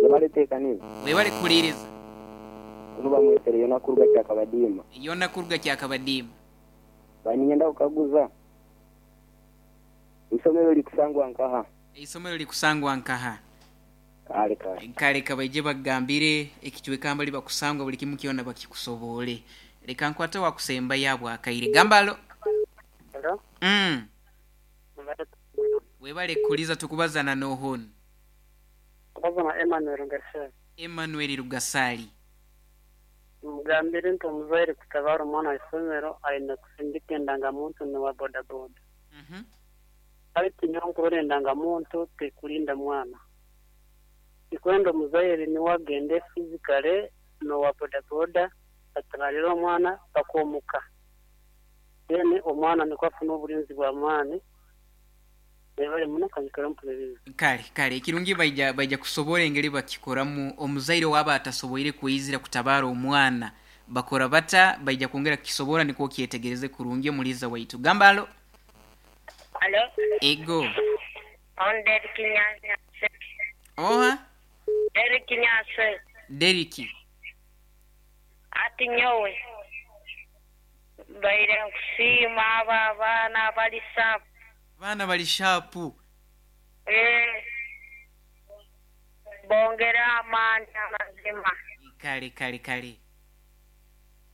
[SPEAKER 9] yabaleteekaniza.
[SPEAKER 2] Webale kukuliriza.
[SPEAKER 9] Kuno bamwetere yona kuruga kyakabadiima.
[SPEAKER 2] Yona kuruga kyakabadiima.
[SPEAKER 9] Baninyenda kukaguza isomero likusangwa nkaha?
[SPEAKER 2] Isomero likusangwa nkaha?
[SPEAKER 9] Kale kale.
[SPEAKER 2] Kale kabaije bagambire ekichwekamba libakusangwa buli kimu kyona bakikusobole. Leka nkwate wakusemba yabwa akaire gambalo.
[SPEAKER 11] Hello.
[SPEAKER 2] Mm. Webale kuliza tukubazana nohon.
[SPEAKER 11] Kubazana Emmanuel Rugasali.
[SPEAKER 2] Emmanuel Rugasali.
[SPEAKER 11] Mugambire nti omuzaire kutabara omwana isomero aine kusindika endangamuntu n'owa bodaboda.
[SPEAKER 2] Mhm.
[SPEAKER 11] Baitu nyowe nkurora endangamuntu tekulinda mwana. Tikwenda omuzaire niwe agende physically n'owa bodaboda atabarire omwana bakomuka. Then omwana nikwo afuna obulinzi bw'amaani. Webale muno kanyikara mpuliriza.
[SPEAKER 2] Kale kale ekirungi baija baija kusobora engeri bakikoramu omuzaire waba atasoboire kwizira kutabara omwana bakora bata baija kwongera kukisobora nikwo kyetegereze kurungi omuliza waitu gambalo.
[SPEAKER 12] Alo.
[SPEAKER 2] Ego.
[SPEAKER 12] On Derek Nyase.
[SPEAKER 2] Oha?
[SPEAKER 12] Derek Nyase.
[SPEAKER 2] Derek.
[SPEAKER 12] Ati nyowe. Baire nkusiima aba abaana bali sharp.
[SPEAKER 2] Abaana bali sharp.
[SPEAKER 12] Eh. Bongera amaani amazima.
[SPEAKER 2] Kale kale kale.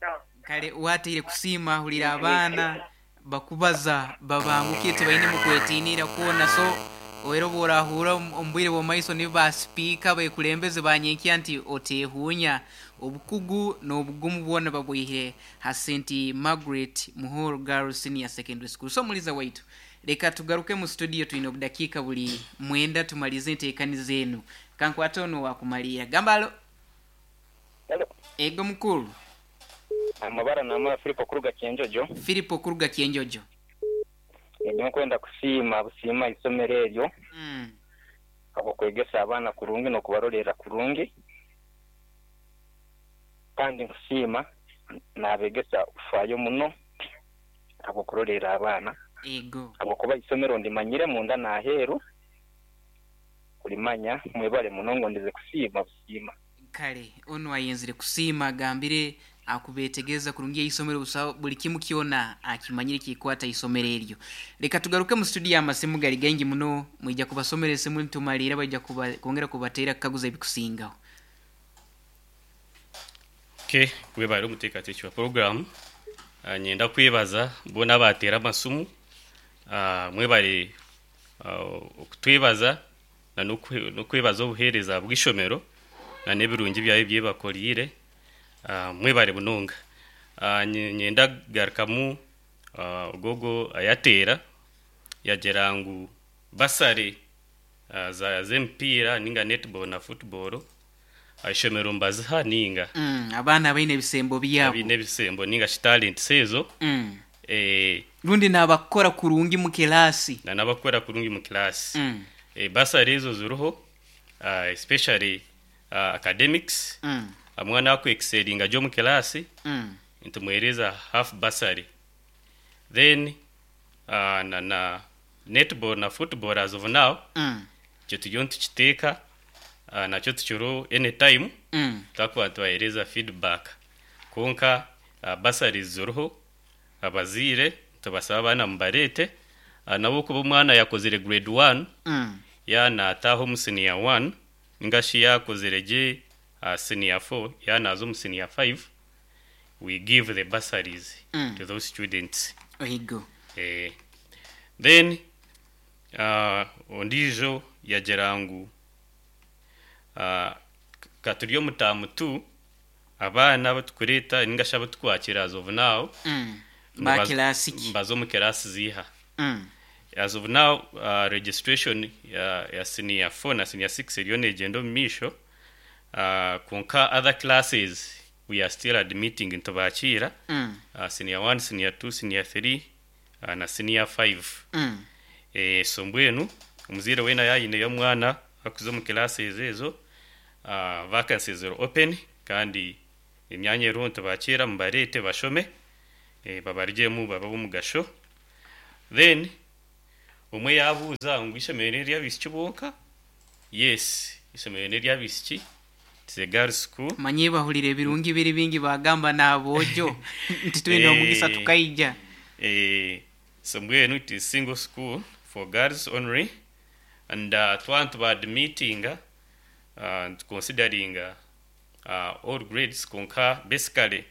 [SPEAKER 12] No.
[SPEAKER 2] Kale wateire kusiima hulira abaana bakubaza babangukie tibaine mukwetiinira kwona so oero bworahura omu bwire bw'omaiso nibo basipiika bekulembeze banyenkya nti oteehuunya obukugu n'obugumu bwona babwihire ha Saint Margaret Muhoro Girls Senior Secondary School. So muliza waitu leka tugaruke mu studio twine obudakiika buli mwenda tumalize enteekaniza enu kankwate ono wakumalira gambalo.
[SPEAKER 7] Hello.
[SPEAKER 2] Ego mukulu.
[SPEAKER 7] Amabara namara Filipo kuruga Kyenjojo.
[SPEAKER 2] Filipo kuruga Kyenjojo.
[SPEAKER 7] Nyo kwenda kusiima busiima isomero eryo.
[SPEAKER 2] Mm.
[SPEAKER 7] Abo kwegesa abaana kurungi n'okubarolera kurungi. Kandi nkusiima nabegesa kufaayo muno abo kurolera abaana.
[SPEAKER 2] Ego.
[SPEAKER 7] Abo kuba isomero ndimanyire munda naheru kulimanya mwebale muno ngo ndize kusiima busiima.
[SPEAKER 2] Kale ono ayenzire kusiima agambire akubetegeza kurungi isomero busa buli kimu kyona akimanyire kikwata isomero eryo. Leka tugaruke mu studio amasimu gali gengi muno mwijja kubasomera esimu ntumalira bajja kuba kongera kubateera kaguza ebikusingaho.
[SPEAKER 13] Okay, webale omuteekateeki wa program. Uh, nyenda kwebaza bona abateera amasumu. Uh, mwebale uh, okutwebaza na n'okwebaza obuheereza bw'ishomero na n'ebirungi byayo byebakorire. Uh, mwebale bunonga. Uh, nyenda garukamu uh, ogogo ayateera yagira ngu basare uh, za z'emipiira ninga netball na football ishomero mbaziha ninga
[SPEAKER 2] mm, abaana baine ebisembo byabo
[SPEAKER 13] abaine ebisembo ninga talent sezo
[SPEAKER 2] mm.
[SPEAKER 13] eh,
[SPEAKER 2] rundi n'abakora kurungi mu kilasi
[SPEAKER 13] na n'abakora kurungi mu kilasi
[SPEAKER 2] mm.
[SPEAKER 13] eh, basare ezo ziriho uh, especially uh, academics
[SPEAKER 2] mm.
[SPEAKER 13] omwana aku excelinga jo mu kilasi
[SPEAKER 2] mm.
[SPEAKER 13] ntumwereza half basari then uh, na, na netball na football as of now
[SPEAKER 2] mm.
[SPEAKER 13] kyo tugiyo ntukiteeka uh, nakyo tukiro anytime
[SPEAKER 2] mm.
[SPEAKER 13] twakuba tubahereza feedback konka uh, basari ziriho abaziire tubasaba abaana mubareete uh, nabo kuba omwana yakozere grade one
[SPEAKER 2] mm.
[SPEAKER 13] yana ataaha omu senior one ningashi yakozere gye uh, senior four yana aza omu senior five we give the bursaries
[SPEAKER 2] mm.
[SPEAKER 13] to those students.
[SPEAKER 2] Ohigo.
[SPEAKER 13] Eh, then uh, ondijo yagira ngu uh, katuri omu term two abaana abatukureeta ningashi abatukwakira as of now
[SPEAKER 2] mm. ba kilasi ki
[SPEAKER 13] mbaza omu kilasi ziiha
[SPEAKER 2] mm.
[SPEAKER 13] as of now uh, registration ya, ya senior four na senior six eriyo neegyenda omu maisho uh, konka other classes We are still admitting nitubakiira
[SPEAKER 2] Mm.
[SPEAKER 13] uh, senior one, senior two, senior three uh, na senior five.
[SPEAKER 2] Mm.
[SPEAKER 13] Eh, so mbwenu omuzaire weena yayineyo omwana akuza omu classes ezo, uh, vacancies are open kandi emyanya eriho nitubakiira, mubareete bashome, eh, babarugyemu babe ab'omugasho. Then omwe yabuuza ngu ishomero n'ery'abaishiki bonka. Yes, ishomero n'ery'abaishiki, it's a girls school.
[SPEAKER 2] Manye bahulire ebirungi biri bingi, bagamba n'aboojo nti twine omugisa
[SPEAKER 13] Eh,
[SPEAKER 2] tukaija.
[SPEAKER 13] Eh, so mbwenu it is single school for girls only and uh, twaba nitubaadmittinga uh, considering uh, all grades, konka basically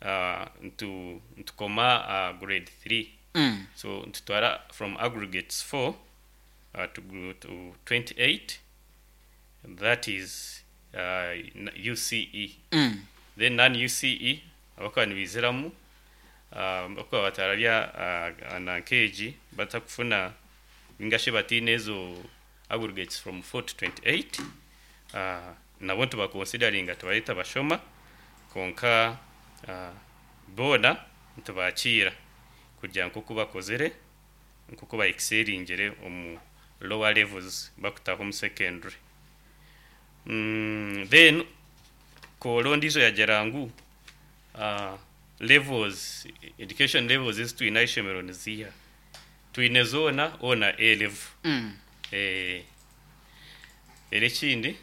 [SPEAKER 13] uh, ntu ntukoma uh, grade three.
[SPEAKER 2] Mm.
[SPEAKER 13] So ntutwara from aggregates four uh, to, gr- to twenty-eight, that is uh, U C E.
[SPEAKER 2] Mm.
[SPEAKER 13] Then non U C E abakuba nibiziramu, uh, bakuba batararya uh, na nkeegi batakufuna ningashi batiine ezo aggregates from four to twenty-eight, uh, nabo nitubaconsideringa, tubareeta bashoma. Konka uh, boona nitubakiira kugira nk'oku bakozere, nk'oku baexcelingire omu lower levels bakutaho omu secondary. mm, then koolo ondiijo yagira ngu uh, levels, education levels ezi twine aha ishomero niziiha? Twine zoona ona A level.
[SPEAKER 2] Mm.
[SPEAKER 13] eh, era ekindi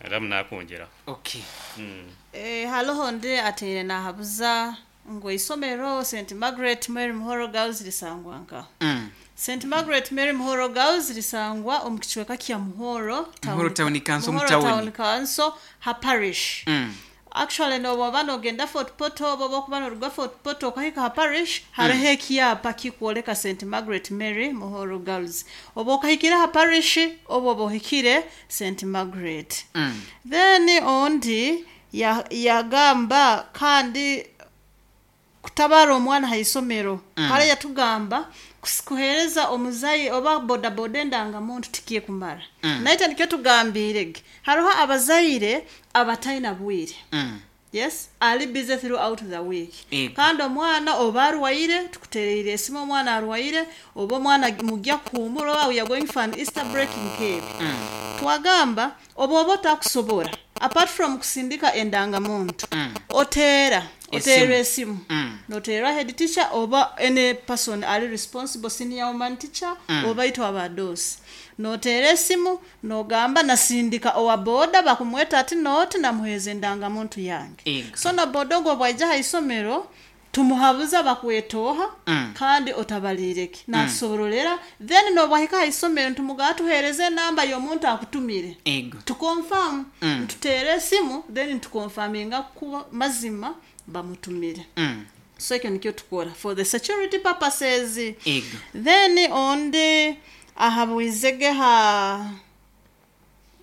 [SPEAKER 13] aramu nakwongeraho.
[SPEAKER 2] Okay.
[SPEAKER 13] mm.
[SPEAKER 1] Eh, haloho ndi ateire nahabuza ngu isomero Saint Margaret Mary Muhoro Girls lisangwa nka
[SPEAKER 2] Mm.
[SPEAKER 1] Saint Margaret Mary Muhoro Girls lisangwa omu kicweka kya Muhoro.
[SPEAKER 2] Muhoro Town Council, mu
[SPEAKER 1] Muhoro
[SPEAKER 2] town.
[SPEAKER 1] Town Council ha parish.
[SPEAKER 2] Mm.
[SPEAKER 1] Actually, noboba nogenda Fort Portal, oba okuba noruga Fort Portal okahika ha parish, hariho ekyapa kikwoleka Saint Margaret Mary Muhoro Girls. Oba okahikire ha parish, oba oba ohikire Saint Margaret.
[SPEAKER 2] Mm.
[SPEAKER 1] Then ondi ya- yagamba kandi kutabara omwana ha isomero.
[SPEAKER 2] Mm.
[SPEAKER 1] Kale yatugamba kus- kuhereza omuzayi oba bodaboda endangamuntu tikiye kumara.
[SPEAKER 2] Mm.
[SPEAKER 1] Naye nikyo tugambirege, hariho abazaire abatalina bwire.
[SPEAKER 2] Mm.
[SPEAKER 1] Yes, ali busy throughout the week.
[SPEAKER 2] Ego.
[SPEAKER 1] Kandi omwana oba arwaire, tukutereire esimu, omwana arwaire oba omwana mujja kuhumura oba we are going for an Easter break nkebi.
[SPEAKER 2] Mm.
[SPEAKER 1] Twagamba oba oba otakusobora, apart from kusindika endangamuntu,
[SPEAKER 2] Mm.
[SPEAKER 1] oteera oteera esimu,
[SPEAKER 2] Mm.
[SPEAKER 1] noteera head teacher oba any person ali responsible, senior woman teacher,
[SPEAKER 2] Mm.
[SPEAKER 1] oba itwe abadosi, noteera esimu nogamba nasindika owa boda bakumweta ati noti namuheeza endangamuntu yange.
[SPEAKER 2] Ego.
[SPEAKER 1] So na boda ogwo bwaija ha isomero tumuhabuza bakwetoha.
[SPEAKER 2] Mm.
[SPEAKER 1] Kandi otabalireke natusoborolera. Then nobwahika ha isomero ntumugaa tuhereze enamba y'omuntu akutumire.
[SPEAKER 2] Ego.
[SPEAKER 1] Tuconfirm.
[SPEAKER 2] Mm.
[SPEAKER 1] Ntuteera esimu, then ntuconfirminga kuba mazima bamutumire.
[SPEAKER 2] Mm.
[SPEAKER 1] So ekyo nikyo tukora for the security purposes.
[SPEAKER 2] Ego.
[SPEAKER 1] Then ondi ahabwizege ha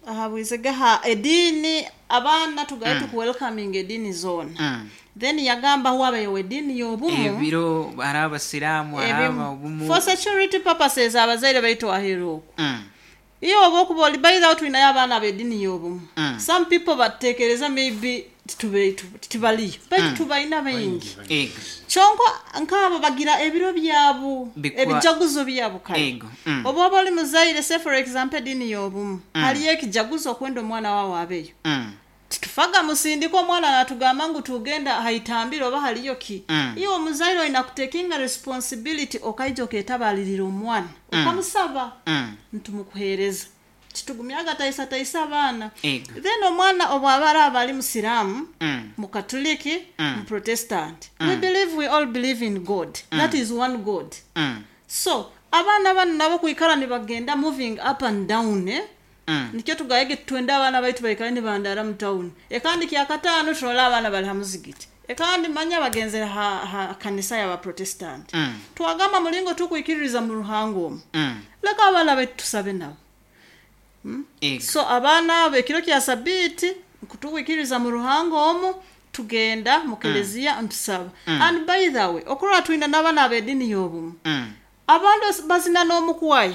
[SPEAKER 1] ahabwizege ha ediini, abaana tugaye
[SPEAKER 2] Mm.
[SPEAKER 1] tukuwelcoming ediini zoona.
[SPEAKER 2] Mm.
[SPEAKER 1] Then yagamba wabayo ediini y'obumu.
[SPEAKER 2] Ebiro hari abasiraamu, hari
[SPEAKER 1] Ebimu.
[SPEAKER 2] aba obumu.
[SPEAKER 1] For security purposes, abazaire baitu aheeru okwo,
[SPEAKER 2] Mm.
[SPEAKER 1] iyo oba okuba oli, by the way, tulinayo abaana b'eddiini y'obumu.
[SPEAKER 2] Mm.
[SPEAKER 1] Some people batekereza maybe titube- tu- tibaliyo, baitu
[SPEAKER 2] Mm.
[SPEAKER 1] tubalina baingi.
[SPEAKER 2] Ego.
[SPEAKER 1] Kyonka nk'abo bagira ebiro byabo,
[SPEAKER 2] Bikwa-
[SPEAKER 1] ebijaguzo byabo kale.
[SPEAKER 2] Ego. Mm.
[SPEAKER 1] Oba oba oli muzaire, say for example eddiini y'obumu,
[SPEAKER 2] Mm.
[SPEAKER 1] haliyo ekijaguzo okwenda omwana wawe abeyo,
[SPEAKER 2] Mm.
[SPEAKER 1] titufaga musindika omwana natugamba ngu tugenda haitambire oba haliyo ki.
[SPEAKER 2] Mm.
[SPEAKER 1] Iwe omuzaire olina kutekinga responsibility, okaija oketabalirira omwana,
[SPEAKER 2] Mm.
[SPEAKER 1] okamusaba,
[SPEAKER 2] Mm.
[SPEAKER 1] ntumukuhereza, kitugumyaga taisataisa abaana.
[SPEAKER 2] Ego.
[SPEAKER 1] Then omwana obwaba araaba ali musiraamu,
[SPEAKER 2] Mm.
[SPEAKER 1] mukatuliki,
[SPEAKER 2] Mm.
[SPEAKER 1] muprotestant,
[SPEAKER 2] Mm.
[SPEAKER 1] we believe, we all believe in God.
[SPEAKER 2] Mm.
[SPEAKER 1] That is one God.
[SPEAKER 2] Mm.
[SPEAKER 1] So abaana bano nabo kwikara nibagenda moving up and down, eh?
[SPEAKER 2] Mm.
[SPEAKER 1] Nikyo tugayege twende abaana baitu baikale nibandara mu town, ekandi kyakataano turola abaana bali ha muzigiti, ekandi manya bagenzere ha, ha kanisa y'abaprotestant.
[SPEAKER 2] Mm.
[SPEAKER 1] Twagamba mulingo tukwikiririza mu ruhanga omu,
[SPEAKER 2] Mm.
[SPEAKER 1] leka abaana baitu tusabe nabo.
[SPEAKER 2] Ego.
[SPEAKER 1] So abaana abo ekiro kya sabiiti kutuwikiriza mu ruhanga omu, tugenda mu keleziya ntusaba.
[SPEAKER 2] Mm.
[SPEAKER 1] And by the way, okurora twina n'abaana ab'eddiini y'obumu,
[SPEAKER 2] Mm.
[SPEAKER 1] abandi bazina n'omukwaya.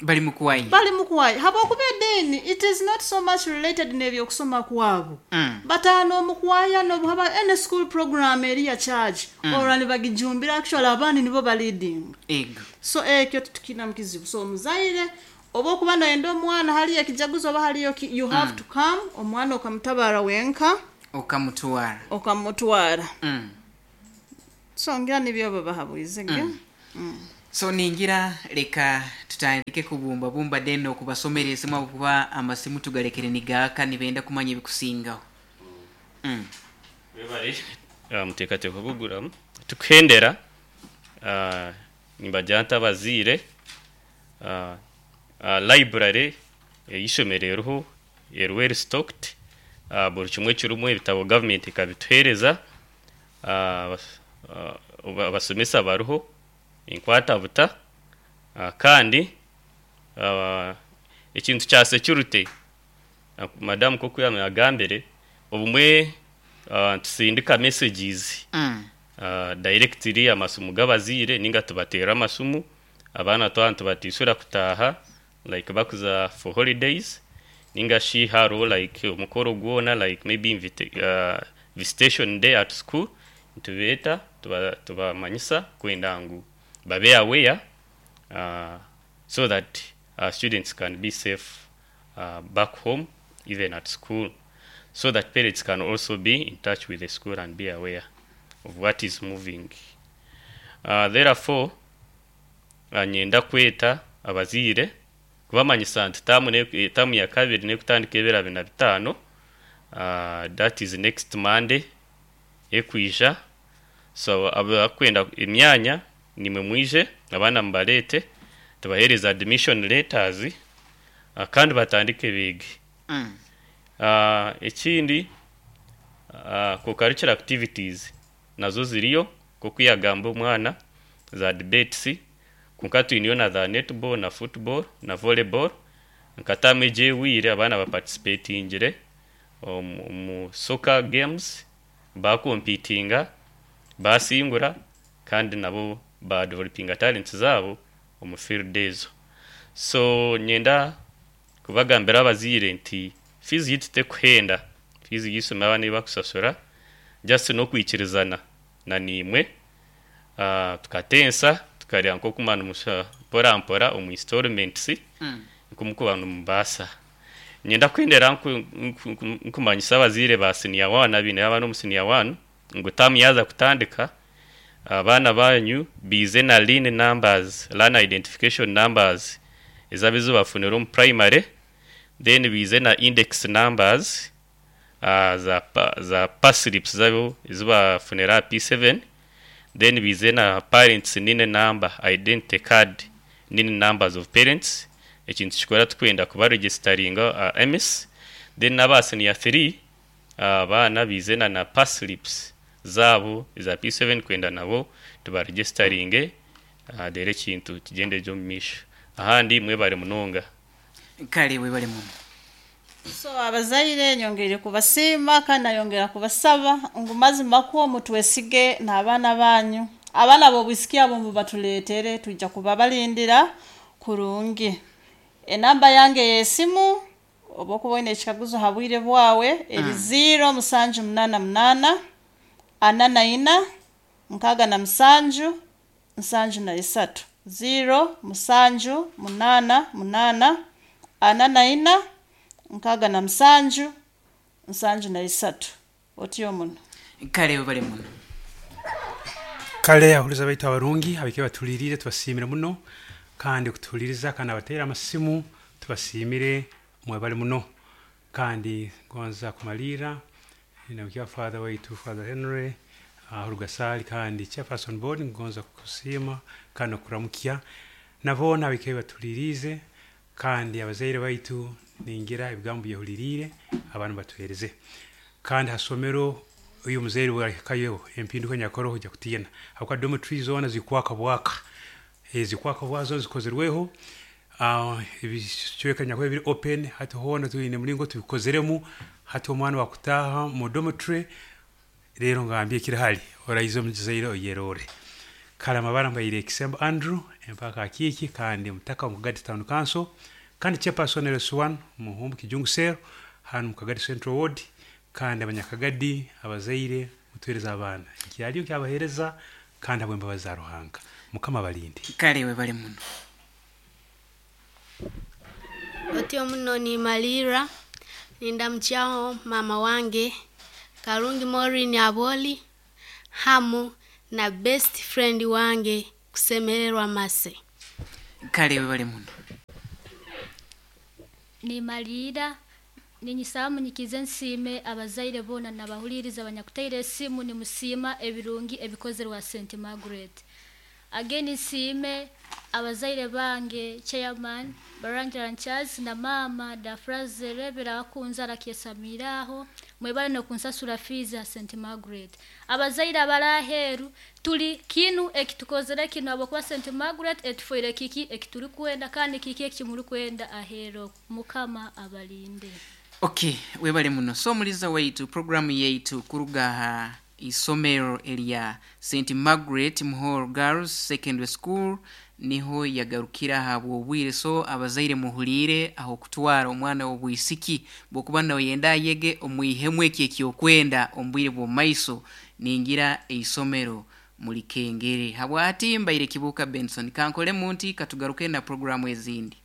[SPEAKER 2] Bali mukuwayi.
[SPEAKER 1] Bali mukuwayi habwokuba eddiini it is not so much related n'ebyokusoma kwabo.
[SPEAKER 2] Mm.
[SPEAKER 1] Bataano omukwaya nobuhaba any school program eri ya church
[SPEAKER 2] Mm.
[SPEAKER 1] olwo nibagijumbira, actually abandi nibo baleading.
[SPEAKER 2] Ego.
[SPEAKER 1] So ekyo tutukina mukizibu. So omuzaire oba okuba noyenda omwana haliyo ekijaguzo oba haliyo ki, you have
[SPEAKER 2] Mm.
[SPEAKER 1] to come, omwana okamutabara wenka
[SPEAKER 2] okamutwara.
[SPEAKER 1] Okamutwara.
[SPEAKER 2] Mm.
[SPEAKER 1] So ngira nibyo babahabwize ge.
[SPEAKER 2] Mm.
[SPEAKER 1] Mm.
[SPEAKER 2] So ningira leka tutandike kubumbabumba then okubasomera esimu abukuba amasimu tugalekere nigaaka nibenda kumanya ebikusingaho. Mm.
[SPEAKER 13] Webale uh, muteekateeka kuguramu tukuhendera uh, nibagira nti abaziire uh, uh, library ey'ishomero eriho eri well stocked, uh, buri kimwe kirimu ebitabo government ekabituheereza, uh, abas- uh, abasomesa bariho enkwatabuta, uh, kandi uh, ekintu kya security, uh, madamu koku yagambire obumwe uh, tusindika messages
[SPEAKER 2] Mm.
[SPEAKER 13] uh, directly amasumu g'abaziire ninga tubateera amasumu abaana twana tubatisura kutaha like bakuza for holidays ninga shi hariho like omukoro gwona like maybe invita uh, visitation day at school, nitubeeta tuba- tubamanyisa kwenda ngu babe aware uh, so that uh, students can be safe uh, back home, even at school, so that parents can also be in touch with the school and be aware of what is moving. Uh, therefore, uh, nyenda kweta abaziire kubamanyisa nti tamu ne- eh, tamu ya kabiri nekutandika ebiro abiri na bitaano, uh, that is next Monday ekwija. So abakwenda emyanya nimwe mwije abaana mubalete tubahereza admission letters, uh, kandi batandike biige.
[SPEAKER 2] Mm.
[SPEAKER 13] uh, ekindi uh, co-curricular activities nazo ziriyo kokuyagamba omwana za debates, kunka twiniyo na za netball na football na volleyball nkatamu egyewire abaana baparticipatingire omu omu soccer games, bakompitinga basingura kandi nabo badevelopinga talents zabo omu field ezo. So nyenda kubagambira abaziire nti fees yitu tekuhenda, fees y'isomero abaana bakusasura just n'okwikirizana na nimwe, uh, tukatensa tukarya nk'okumana musha mpora mpora omu installments
[SPEAKER 2] Mm.
[SPEAKER 13] nk'omukuba nimubaasa. Nyenda kwendera nku- nku- nku- nkumanyisa abaziire ba senior one abiine abaana omu senior one ngu tamu yaza kutandika abaana banyu bize na LIN numbers, learner identification numbers ezabizo bafunira omu primary, then bize na index numbers uh, za, pa, za paslips zabo ezibafunira P seven, then bize na parents NIN number, identity card NIN numbers of parents, ekintu kikora tukwenda kuba registeringa uh, M S, then n'aba senior three abaana uh, bize na na paslips zabo eza P seven kwenda nabo tubaregisteringe, uh, dere ekintu kigende gyo mumisho ahandi. Mwebare munonga.
[SPEAKER 2] Kale webale muno.
[SPEAKER 1] So abazaire nyongeire kubasiima kandi nayongera kubasaba ngu mazima kwo mutwesige n'abaana banyu, abaana b'obwisiki abo mubatuleetere, tujja kuba balindira kurungi. Enamba yange y'esimu oba okuba oine ekikaguzo ha bwire bwawe eri
[SPEAKER 2] Mm.
[SPEAKER 1] zero musanju munana munana ana na ina nkaaga na musanju nsanju na isatu, zero musanju munana munana ana na ina nkaaga na musanju nsanju na isatu. Otyo muno.
[SPEAKER 2] Kale webale muno.
[SPEAKER 3] Kale ahuliza baitu abarungi abike batulirire tubasiimire muno kandi kutuliriza kandi abateera amasimu tubasiimire mwebale muno. Kandi gonza kumalira nabukia father waitu Father Henry uh, Rugasali kandi chairperson board, ngonza kusiima kandi okuramukya nabona abike batulirize kandi abazaire baitu ningira ebigambo byehuliriire abantu batuhereze kandi hasomero uyu muzaire bwakayo empinduka nyakoroho ojja kutiina habwokuba dormitory zoona zikwaka bwaka, eh, zikwaka bwazo zikozerweho, uh, ebicweka nyakuba biri open hati hoona twine mulingo tubikozeremu hati omwana wakutaha mu dormitory rero ngambye kirahali orayize omuzaire oyerore. Kale amabara mbaire Kisembo Andrew empaka akiiki kandi mutaka mu Kagadi Town Council kandi chairperson L S one muhumbu Kijungu Cell hano mu Kagadi Central Ward, kandi abanyakagadi abazaire mutwereza abaana kyaliyo kyabahereza kandi abwembabazi za Ruhanga Mukama balinde.
[SPEAKER 2] Kale we bali muno.
[SPEAKER 4] Otyo muno ni malira nindamchao mama wange Karungi Maureen Aboli hamu na best friend wange Kusemererwa Mase.
[SPEAKER 2] Kale we bali muno.
[SPEAKER 5] Ni malira ninyisaba munyikize nsime abazaire bona nabahuliriza abanyakuteire esimu ni musima ebirungi ebikozerwa Saint Margaret. Again nsime abazaire bange chairman Barangira Charles na mama Dafraze Rebera akunzara kyesamiraho mwebale no kunsasura fees ya Saint Margaret. Abazaire abaraheru tuli kinu ekitukozere kinu abokuba Saint Margaret etufoire kiki ekituri kwenda kandi kiki ekimuri kwenda ahero. Mukama abalinde.
[SPEAKER 2] Okay, webale muno. So muliza waitu programu yaitu kuruga isomero elia Saint Margaret Muhoro Girls Secondary School niho yagarukira habwo bwire. So abazaire muhulire aho kutwara omwana w'obwisiki bwokuba nawe yenda yege omwihemwe eki ekyokwenda ombwire bw'omaiso ningira eisomero mulikengere. Habwati mbaire Kibuka Benson kankole munti katugaruke na programu ezindi.